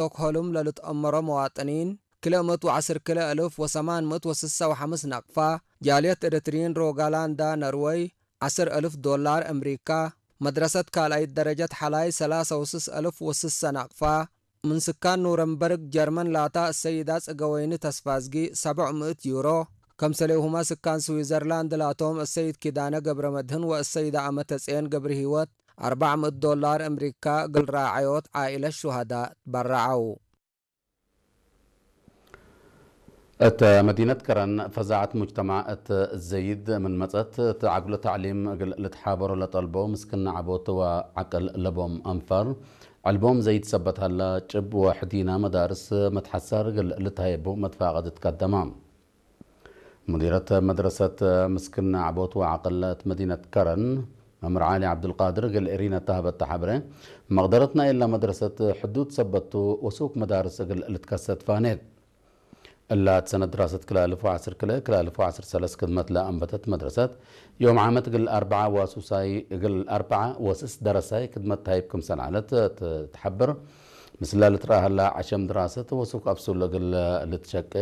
ስቶክሆልም ለልትአመሮ መዋጥኒን ክልኤ ምእት ወዓስር ክልኤ እልፍ ወሰማን ምእት ወስሳ ወሓምስ ናቕፋ፣ ጃልየት ኤርትሪን ሮጋላንዳ ነርወይ ዓስር እልፍ ዶላር ኣምሪካ፣ መድረሰት ካልኣይት ደረጀት ሓላይ ሰላሳ ወስስ እልፍ ወስሳ ናቕፋ፣ ምን ስካን ኑረምበርግ ጀርመን ላታ እሰይዳ ጽገወይኒ ተስፋዝጊ ሰብዕ ምእት ዩሮ፣ ከምሰሌሁማ ስካን ስዊዘርላንድ ላቶም እሰይድ ኪዳነ ገብረ መድህን ወእሰይዳ ኣመተጽየን ገብረ ህይወት ኣርባዕ ምእት ዶላር ኣምሪካ እግል ራዓዮት ዓኢለት ሹሃዳ ትበራዓው። እት መዲነት ከረን ፈዛዐት ሙጅተማዕ እት ዘይድ ምን መጸት፣ እት ዓግሎ ታዕሊም እግል ልትሓበሮ ለጠልቦ ምስክና ዓቦት ወዓቅል ለቦም አንፋር፣ ዕልቦም ዘይድ ሰበት ሀላ ጭብ ወሕዲና መዳርስ መትሓሳር እግል ልታየቡ መትፋቀድት ቀደማ። ሙዲረት መድረሰት ምስክና ዓቦት ወዓቅል እት መዲነት ከረን መምህር ዓሊ ዓብዱልቃድር እግል ኤሪና እተሃበ እተሓብረ፣ መቕደረት ናይላ መድረሰት ሕዱድ ሰበቱ ወሱክ መዳርስ እግል ልትከሰት ፋኔት። እላ እት ሰነት ድራሰት ክላ እልፍ ወዓስር ክልኤ ክላ እልፍ ወዓስር ሰለስ ክድመት ለአንበተት መድረሰት፣ ዮም ዓመት እግል አርብዓ ዋሱሳይ እግል አርብዓ ወስስ ደረሳይ ክድመት ታይብ ክምሰል ዓለት ትሓብር። ምስላ ልትረአ ሀላ ዐሸም ድራሰት ወሱክ አብሱል እግል ልትሸቄ፣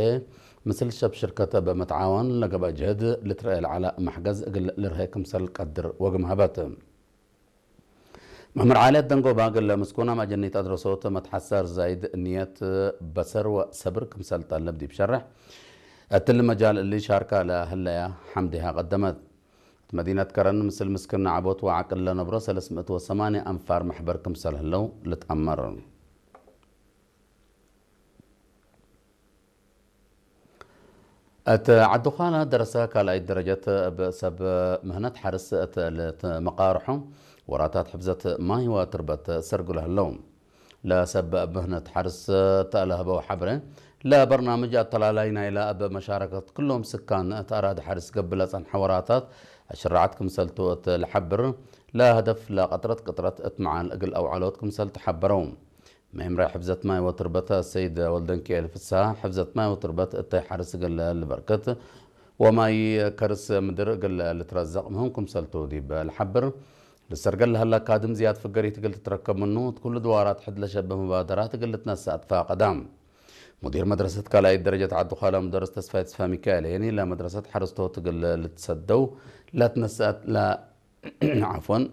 ምስል ሰብ ሽርከተ በመትዓዋን ለገብአ ጅህድ ልትረአ ለዓላ ማሕገዝ እግል ልርሀ ክምሰል ቀድር ወግም ሀበት። መምህር ዓሊ ደንጎባ እግል ምስኩና ማጀኒት አድረሶት መትሓሳር ዛይድ ንየት በሰር ወሰብር ክምሰል ጠለብ ዲብ ሸርሕ፣ እትሊ መጃል እሊ ሻርካ ለህለያ ሐምዲሃ ቀደመት። እት መዲነት ከረን ምስል ምስክና ዓቦት ወዓቅል ለነብሮ ሰለስ ምእት ወሰማንያ አንፋር መሕበር ክምሰል ህለው ልትአመር። እት ዓዲ ዃላ ደረሰ ካልኣይ ደረጀት እብ ሰብ ምህነት ሓርስ እት ልትመቃርሖ ወራታት ሕፍዘት ማይ ወትርበት ሰርጉለ ህለው። ለሰብ ምህነት ሓርስ ተለህበው ሓብረ፣ ለበርናምጅ አተላላይ ናይላ እብ መሻረከት ክሎም ስካን እት አራድ ሓርስ ገብእ ለጸንሐ ወራታት አሽራዓት ክምሰልቱ እት ልሓብር፣ ለህደፍ ለቀጥረት ቅጥረት እት መዓል እግል አውዓሎት ክምሰል ተሓበረው። መምርያ ሕፍዘት ማይ ወትርበት ሰይድ ወልደንኪኤል ፍስሃ፣ ሕፍዘት ማይ ወትርበት እተይ ሓርስ እግል ልበርክት ወማይ ከርስ ምድር እግል ልትረዘቕ ምህም ክምሰልቱ ዲብ ልሓብር፣ ልሰርገል ለሀላ ካድም ዝያድ ፍገሪት እግል ትትረከብ ምኑ፣ እት ኩሉ ድዋራት ሕድ ለሸበ መባደራት እግል ልትነሰእ አትፋቀዳ። ሙዲር መድረሰት ካልኣይት ደረጀት ዓዲ ዃላ ሙደርስ ተስፋይ ተስፋ ሚካኤል ሄኒ፣ ለመድረሰት ሓረስቶት እግል ልትሰደው ለትነሰአት ለ-፣ ዓፎን፣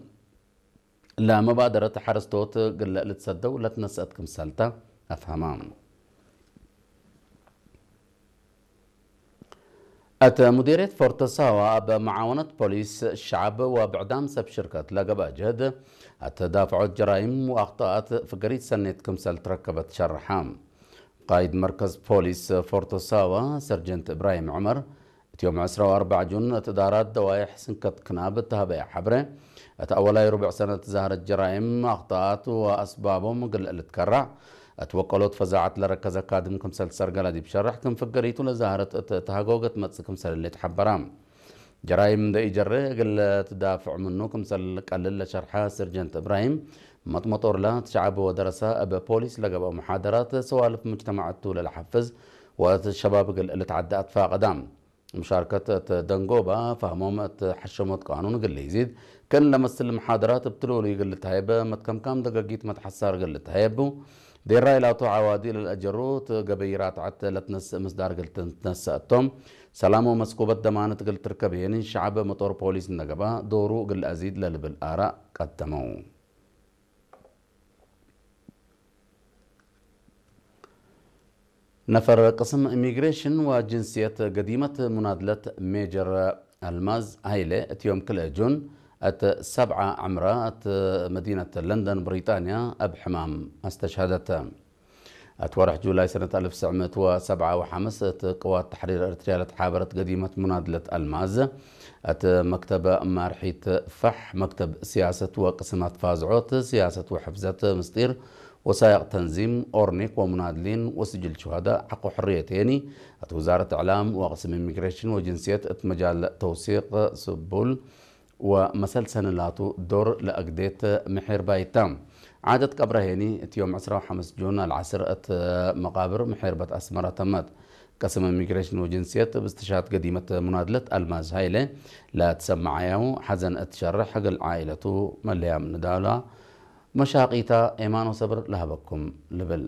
ለመባደረት ሓረስቶት እግል ልትሰደው ለትነሰአት ክምሰልታ አፍሃማ። እት ሙዲርየት ፎርቶ ሳዋ እብ መዓወነት ፖሊስ ሸዓብ ወብዕዳም ሰብ ሽርከት ለገብአ ጀህድ፣ እት ዳፍዖት ጀራይም ወአኽጣኣት ፍገሪት ሰኔት ክምሰል ትረከበት ሸርሓ። ቃይድ መርከዝ ፖሊስ ፎርቶ ሳዋ ሰርጀንት እብራሂም ዑመር፣ እት ዮም ዕስራ ወአርባዕ ጁን እት እዳራት ደዋይሕ ስንከት ክናብ እተሃበየ ሓብረ፣ እት አወላይ ሩብዕ ሰነት ዛህረት ጀራይም አኽጣኣት ወአስባቦም እግል ልትከራዕ፣ እት ወቀሎት ፈዛዐት ለረከዘ ካድም ክምሰል ሰርገላ ዲብ ሸርሕ፣ ክም ፍገሪቱ ለዛህረት እት ተሃጎገ ትመጽእ ክምሰል እለ ተሓበራ። ጀራይም እንደ ኢጀረ እግል ትዳፍዕ ምኑ ክምሰል ቀልል ለሸርሐ ስርጀንት እብራሂም፣ መጥመጦርላ እት ሸዓብ ወደረሰ እብ ፖሊስ ለገብአ መሓደራት ሰዋልፍ ሙጅተማዕ እቱ ለለሓፍዝ ወእት ሸባብ እግል ልትዓደ አትፋቀዳ። ሙሻርከት እት ደንጎባ ፋህሞም እት ሐሸሞት ቃኑን እግል ይዚድ፣ ክእን ለመስል መሓደራት እብ ትልውሉ እግል ልትሃየበ፣ መትከምካም ደገጊት መትሐሳር እግል ልትሃየቡ፣ ዴራ ኢላቱ ዓዋዲ ለልአጀሩ እት ገበይ ራትዐት ለትነስእ ምስዳር እግል ትነሰአቶም፣ ሰላም ወመስኩበት ደማነት እግል ትርከብ ሄኒ፣ ሸዓብ መጦር ፖሊስ እነገባ ዶሩ እግል አዚድ ለልብል አራእ ቀደመው። ነፈር ቅስም ኢሚግሬሽን ወጅንስየት ገዲመት ሙናድለት ሜጀር አልማዝ ሃይለ እት ዮም ክልኤ ጁን እት ሰብዓ ዕምራ እት መዲነት ለንደን ብሪጣንያ እብ ሕማም አስተሽሀደተ። እት ወርሕ ጁላይ ሰነት አልፍ ትስዕ ምእት ወሰብዓ ወሓምስ እት ቅዋት ተሕሪር ኤርትርያ ለትሓበረት ገዲመት ሙናድለት አልማዝ፣ እት መክተብ ማርሒት ፋሕ፣ መክተብ ስያሰት ወቅስማት ፋዝዖት፣ ስያሰት ወሕፍዘት ምስጢር፣ ወሳይቅ ተንዚም፣ ኦርኒክ ወሙናድሊን ወስጅል ሹሃዳ ሐቆ ሕርየት የኒ፣ እት ውዛረት እዕላም ወቅስም ኢሚግሬሽን ወጅንስየት እት መጃል ተውሲቅ ስቡል ወመሰልሰን ላቱ ዶር ለአግዴት ምሒር ባይታ። ዓደት ቀብረ ሄኒ እት ዮም ዕስራ ወሐምስ ጁን አልዓስር እት መቃብር ምሒርበት አስመራ ተመት። ቀስም ኢሚግሬሽን ወጅንስየት እብ እስትሽሃድ ገዲመት ሙናድለት አልማዝ ሃይለ ለትሰመዓያሙ ሐዘን እት ሸርሕ እግል ዓኢለቱ መለያም ንዳላ መሻቂታ ኤማን ወሰብር ለሀበኩም ልብል።